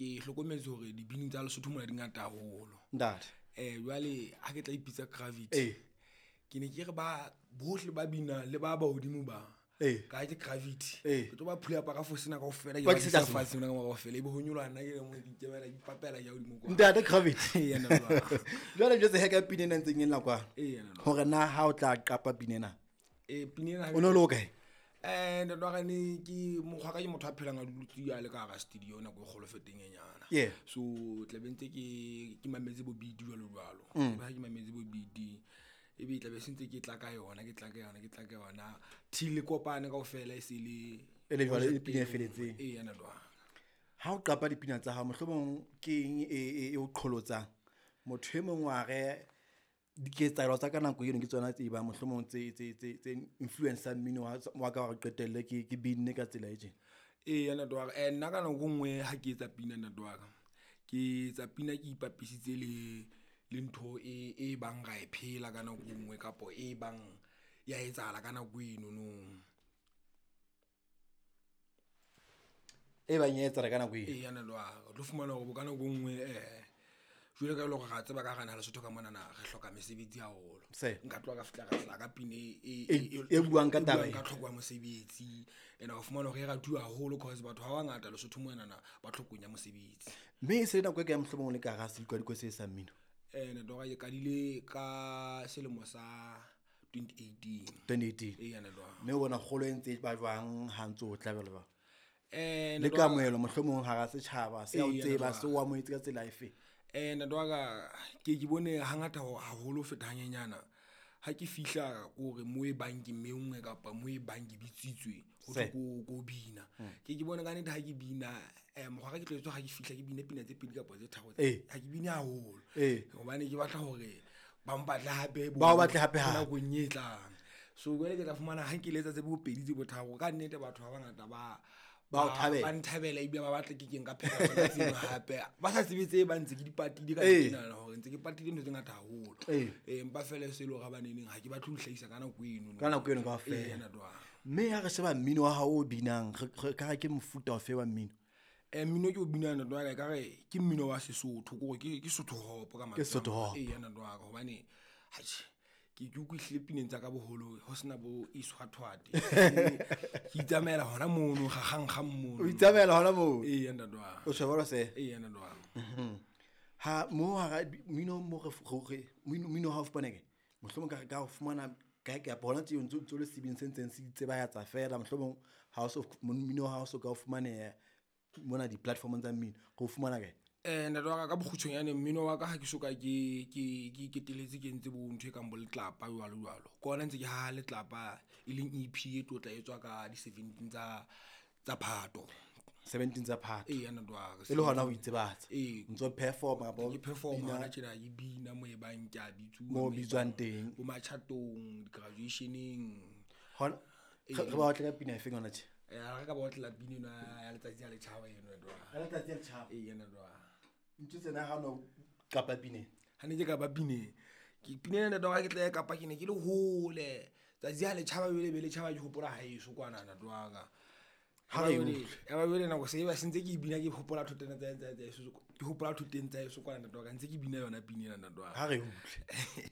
Ke hlokometse hore dibini tsa Lesotho mona di ngata haholo. Ntate. Jwale ha ke tla ipitsa Gravity, ke ne ke re ba bohle ba binang le ba ba hodimo ba ka ke Gravity. Ke tlo ba phula ka fosena kaofela, ke Ba ba tlisetsa tlisa fatshe mona ka mora kaofela, ebe ho nyoloha nna ke le mong, ke ikemela, ke ipapela ke ya hodimo kwa. Ntate Gravity. Ee, yena jwalo. Jwale jwetse he ka pina ena ntseng e lla kwano. Ee, yena jwalo. Hore na ha o tla qapa pina ena? Ee, pina ena ha O no le hokae? Ntate wa ka, ne ke mokgwa ka, ke motho a phelang a dutse a le ka hara studio nako e kgolo feteng e nyana. So tla be ntse ke mametse bo beat jwalo jwalo. Ebe ha ke mametse bo beat, ebe tla be se ntse ke tla ka yona, ke tla ka yona, ke tla ka yona till e kopane kaofela, e se le E le jwale e project pina e e feletseng. Ee, yena jwalo. Ha o qapa dipina tsa hao, mohlomong ke eng e o qholotsang? Motho e mong wa re diketsahalo tsa ka nako eno ke tsona tse bang mohlomong tse influence-ang mmino wa ka hore qetelle ke binne ka tsela e tjena. Ee, ntate wa ka. Nna ka nako e nngwe ha ke etsa pina, ntate wa ka, ke etsa pina ke ipapisitse le ntho e bang ra e phela ka nako e nngwe, kapo e bang ya etsahala ka nako eno no. E bang ya etsahala ka nako eno. Ee, ntate wa ka. O tlo fumana hore bo ka nako e nngwe, jwale ka e le hore ra tseba ka hara naha Lesotho ka monana re hloka mesebetsi haholo. Nka tloha ka fihla ka hlaha ka pina E buang ka e taba buang ena. ka tlhoko ya mosebetsi. And wa fumana hore e ratuwa haholo cause batho ba bangata Lesotho monana ba tlhokong ya mosebetsi. Mme e se le nako e kae mohlomong o le ka hara sedikwadikwe se sa mmino? Ntate wa ka, ke qadile ka selemo sa 2018. 2018. Ee, ntate wa ka. Mme o bona kgolo e ntse e ba jwang ha ntse o tla jwalo jwalo? Le Ntate wa ka- kamohelo mohlomong hara setjhaba, se a o Ee, tseba, ntate wa se o amohetse ka tsela efe? Ntate wa ka, ke bone hangata haholo ho feta hanyenyana. Ha ke fihla kore mo e bang ke menngwe kapa mo e bang ke bitsitswe ho thwe ko bina. Ke bone ka nnete ha ke bina, mokgwa ka ke tlwaetse ha ke fihla ke bine pina tse pedi kapa tse tharo. Ha ke bine haholo. Hobane ke batla hore ba mpatle hape Ba o batle hape hape. nakong e tlang. So jwale ke tla fumana ha ke letsa tse bo pedi tse bo tharo, ka nnete batho ba bangata Ba o thabela. ba nthabela ebile ba batla ke keng ka pheta tsona tseno hape. Ba sa tsebe tse ba ntse ke di patile ka nna hore ntse ke patile ntho tse ngata haholo. Empa feela e se le hore ha ba neneng ha ke batle ho hlahisa ka nako eno. Ka nako eno kaofela. Ee, ntate wa ka. Mme ha re sheba mmino wa hao o binang, re ka re ke mofuta ofe wa mmino? Mmino ke o binang, ntate wa ka, ekare ke mmino wa Sesotho, ke hore ke Sotho hop ka mantswe Ke a Sotho mang. hop. Ee, ntate wa ka, hobane atjhe, ke utlwisile pineng tsa ka boholo ho sena bo iswathwate. Ke itsamaela hona mono, kgakgankgang mono. O itsamaela hona moo? Ee, ntate wa ka. O tjho jwalo se? Ee, ntate wa ka. Ha mo hara mmino mo re re mmino ha o fumana kae? Mohlomong ka ho fumana kae kapa hona tje o ntso le sebini se ntseng se itsebahatsa feela, mohlomong ha o so mmino ha o so ka o fumaneha mona di-platformong tsa mmino, re o fumana kae? Ntate wa ka, ka bokgutshwanyane mmino wa ka ha ke soka ke iketeletse ke entse bo ntho e kang bo letlapa jwalo jwalo. Ke hona ntse ke haha letlapa e leng EP e tlo tla etswa ka di 17 tsa Phato. 17 tsa Phato. Ee, ntate wa ka. E le hona ho itsebahatsa. Ee. O ntso perform-a kapa Ke perform-a bina hona tjena, ke bina mo e bang ke a bitsuwa, Mo mo e bitswang bang teng. Bo matjhatong, di-graduation-eng. Hona, re ba otle ka pina efeng hona tje? Ha re ka ba otlela pina eno ya letsatsi ya letjhaba eno, ntate wa ka. Ya letsatsi ya letjhaba. Ee, ntate wa ka. Ntho tsena ha no kapa pina ena. Ha ne ke kapa pina ena, ke pina ena ntate wa ka ke tla e kapa ke ne ke le hole. Tsatsi ha letjhaba jwale be letjhaba ke hopola haeso kwana, ntate wa ka. Ha re e utlwe. Ya ba jwale nako se e ba se ntse ke e bina ke hopola thoteng tsa heso, ke hopola thoteng tsa heso kwana, ntate wa ka, ntse ke bina yona pina ena, ntate wa ka. Ha re e utlwe.